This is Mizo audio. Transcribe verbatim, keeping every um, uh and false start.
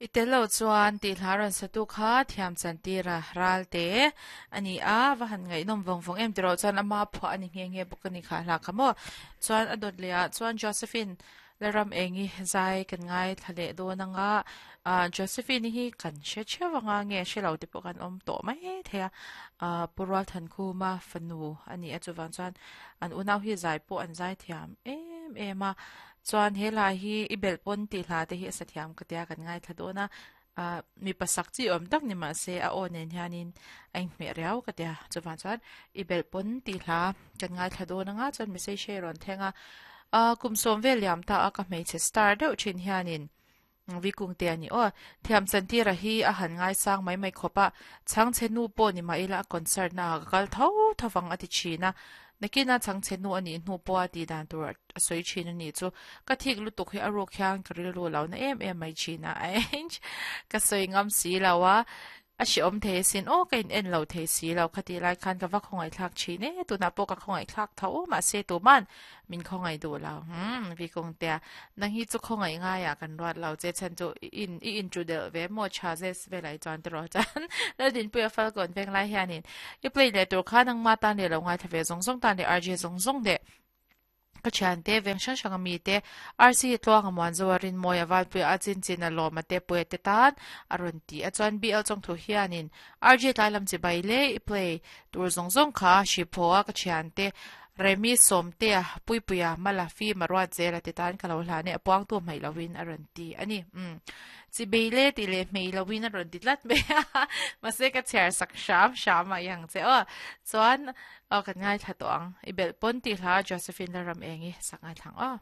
I tel lo chuan tih hla rawn satu kha thiam chantira ralte ani a va han ngaihnawm vawng vawng em tiro chuan ama phuah ani nge nge bawk ani kha hla kha maw chuan a dawt leh ah chuan Josephine Laram engi zai kan ngai thla leh dawn anga ah Josephine hi kan hre theuh anga nge hre lo te pawh kan awm tawh mai thei a ah Purual Thankhuma fanu ani a chuvang chuan an unau hi zai pawh an zai thiam em em a chuan he lai hi i belh pawn tih hla te hi a sa thiam ka tia kan ngai thla dawn a ah mi pasak chi awm tak ni mahse a aw nen hianin a inhmeh riau ka tia chuvang chuan i belh pawn tih hla kan ngai thla dawn anga chuan message hi a rawn thleng a ah kum sawm vel liam ta a ka hmeichhe star deuh thin hianin vikung te ani aw thiam chantira hi a han ngai sang mai mai khawp a chhangchhe nu pawh ni mah ila a concert na ah ka kal tho tho vang a ti thin a nakina chhangchhe nu anih hnu pawh a tih dan tur a sawi thin ani chu ka thik lutuk hi a ruk hian ka rilru lo na em em mai thin a ka sawi ngam si lo a a hre awm thei sin aw ka in en lo thei si lo khati lai khan ka va khawngaih thlak thin e tunah pawh ka khawngaih thlak tho mahse tuman min khawngaih duh lo hmm vikung te nang hi chu khawngaih ngai ah kan ruat lo che chan chu in i in chu del ve maw cha zes velai chuan te ro chan lalin puia falcon veng lai hianin i play leh tur kha nang ma tan le lo ngai thave zong zong tan le rj zong zong de ka thian te veng hrang hrang ami te rc tluang a muan zo a rin mawi a valpui a chin chin a lawm a te pui te tan a rawn ti a chuan bl chawng thu hianin rj tlai lam chi bai le i play tur zawng zawng kha hriphaw a ka thian te remi sawm te a puipuia mala fi maruat zel a ti tan ka lo hlan e a puang tu hmai lovin a rawn ti ani um chi bei le ti le hmei lovin a rawn ti tlat mai a mahse ka chhiar sak hram hram a yang che aw chuan aw kan ngai thla tawh ang i belh pawn tih hla Josephine Laram engi sak ngai thlang aw.